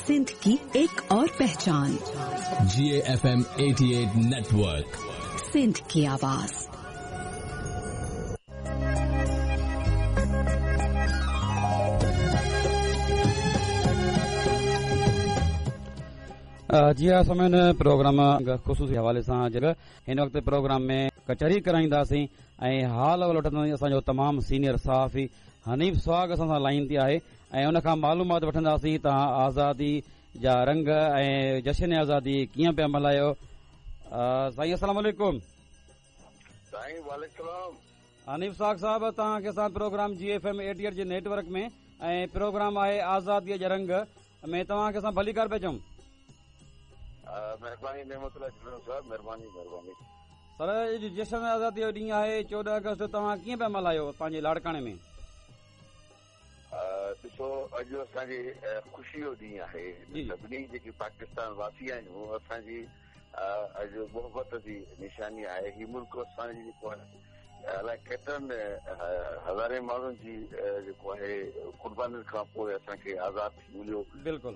सिंध की एक और पहचान। GAFM 88 network, Sindh की आवाज। जी हा सामीन, प्रोग्राम ख़ुसूसी हवाले सां हिन वक़्तु प्रोग्राम में कचहरी कराईंदासीं ऐं हाल अहिवाल वठंदासीं। असांजो तमामु सीनियर सहाफ़ी हनीफ सुहाग असां सां लाइन ते आहे ऐं उन खां मालूमात वठंदासीं तव्हां आज़ादी जा रंग ऐं जश्न आज़ादी कीअं पिया मल्हायो। साईं अस्सलाम वालेकुम। साईं वालेकुम। हनीफ सुहाग साहब, तव्हांखे असां प्रोग्राम GFM 88 जे नेटवर्क में ऐं प्रोग्राम आहे आज़ादीअ जा रंग में तव्हांखे असां भलीकार पिया चऊं। महिरबानी नेमतुल्लाह साहब, महिरबानी महिरबानी। सर, अॼु जश्न आज़ादी जो ॾींहुं आहे 14 अगस्त, तव्हां कीअं पिया मल्हायो पंहिंजे लाड़काणे में? ॾिसो, अॼु असांजी ख़ुशी जो ॾींहुं आहे। सभिनी जेके पाकिस्तान वासी आहियूं, असांजी अॼु मोहबत जी निशानी आहे। हीउ मुल्क असांजी जेको आहे अलाए केतिरनि हज़ारे माण्हुनि जी जेको आहे क़ुर्बानियुनि खां पोइ असांखे आज़ाद थी मिलियो।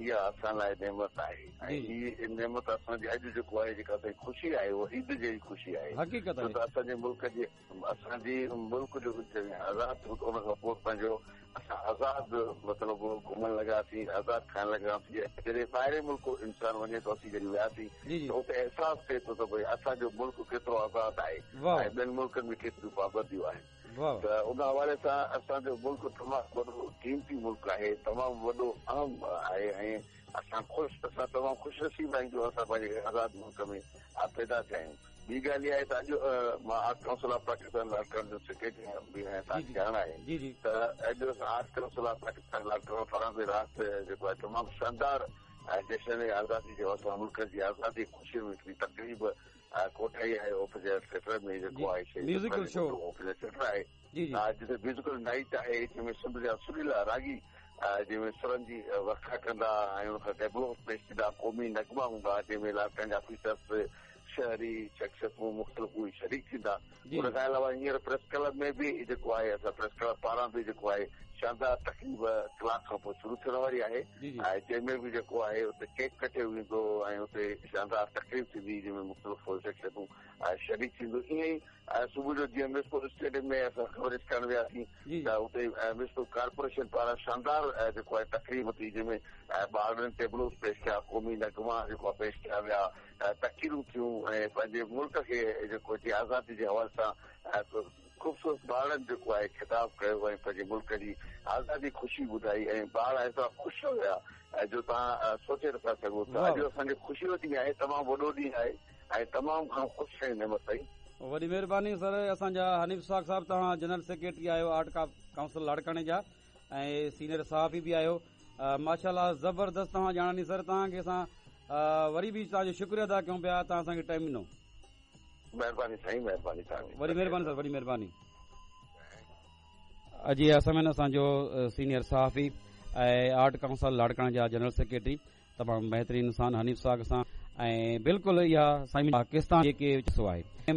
इहा असां लाइ नेमत आहे ऐं हीअ नेमत असांजी अॼु जेको आहे जेका असांजी ख़ुशी आहे उहा ईद जहिड़ी ख़ुशी आहे। हक़ीक़त छो त असांजे मुल्क जे असांजी मुल्क जो आज़ाद थियो त उन खां पोइ पंहिंजो असां आज़ाद मतिलबु घुमण लॻासीं, आज़ाद खाइण लॻासीं। जॾहिं ॿाहिरि मुल्क इंसान वञे थो, असीं जॾहिं वियासीं त उते अहसासु थिए थो त भई असांजो मुल्क केतिरो आज़ाद आहे ऐं ॿियनि मुल्कनि में केतिरियूं पाबंदियूं आहिनि। त उन हवाले सां असांजो मुल्क तमामु वॾो क़ीमती मुल्क आहे, तमामु वॾो अहम आहे ऐं असां ख़ुशि असां तमामु ख़ुशि नसीब आहियूं जो असां पंहिंजे आज़ाद मुल्क में पैदा थिया आहियूं। ॿी ॻाल्हि इहा आहे त अॼु मां art council of Pakistan Larkana जो सेक्रेटरी बि आहियां, तव्हांखे ॼाण आहे त अॼु असां art council of Pakistan Larkana पारां बि राति जेको आहे तमामु शानदार जश्न आज़ादी जो असां मुल्क जी आज़ादी ख़ुशी में हिकिड़ी तक़रीब कोठाई आहे ऑफिसर थिएटर में जेको आहे म्यूज़िकल शो ऑफिसर थिएटर आहे, जिते म्यूज़िकल नाइट आहे, जंहिंमें सिंध जा सुरीला रागी जंहिंमें सुरनि जी वरखा कंदा ऐं उनखां टेबलो पेश थींदा, क़ौमी नगमा हूंदा जंहिंमें लाड़काना जा ऑफिसर्स, शहरी शख़्सियतूं मुख़्तलिफ़ उहे शरीक थींदा। उन खां अलावा हींअर प्रेस क्लब में बि जेको आहे असां प्रेस क्लब पारां बि जेको आहे शानदार तक़रीब कलाक खां पोइ शुरू थियण वारी आहे ऐं जंहिंमें बि जेको आहे उते केक कटियो वेंदो ऐं उते शानदार तक़रीब थींदी जंहिंमें मुख़्तलिफ़ शख़्सियतूं शरीक थींदियूं। ईअं ई सुबुह जो जीअं म्यूनिसिपल स्टेडियम में असां ख़बर करण वियासीं त उते म्यूनिसिपल कॉर्पोरेशन पारां शानदार जेको आहे तक़रीब थी जंहिंमें ॿारनि टेबलोस पेश कया, क़ौमी नगमा जेको आहे पेश कया विया, तक़रीरूं थियूं ऐं पंहिंजे मुल्क खे जेको आज़ादी जे हवाले सां ख़ूबसूरत ॿारनि जेको आहे ख़िताब कयो ऐं पंहिंजे मुल्क जी आज़ादी ख़ुशी ॿुधाई ऐं ॿार एतिरा ख़ुशि हुया जो तव्हां सोचे नथा सघो। त अॼु असांजे ख़ुशी जो ॾींहुं आहे, तमामु वॾो ॾींहुं आहे ऐं तमामु घणो ख़ुशि आहियूं नेमत साईं। वॾी महिरबानी सर। असांजा हनीफ सुहाग साहिबु, तव्हां जनरल सेक्रेटरी आहियो आर्ट काउंसिल लाड़काणे जा ऐं सीनियर सहाफ़ी बि आहियो। माशाअल्लाह ज़बरदस्त तव्हां ॼाण ॾिनी सर, तव्हांखे असां वरी बि तव्हांजो शुक्रियो अदा कयूं पिया, तव्हां असांखे टाइम ॾिनो। महिरबानी साईं, महिरबानी तव्हांजी। वॾी महिरबानी सर, वॾी महिरबानी। जी असां असांजो सीनियर सहाफ़ी ऐं आर्ट काउंसिल लाड़काणे जा जनरल सेक्रेटरी तमामु बहितरीन इंसान हनीफ सुहाग सां ऐं बिल्कुलु इहा साईं पाकिस्तान जेके आहे।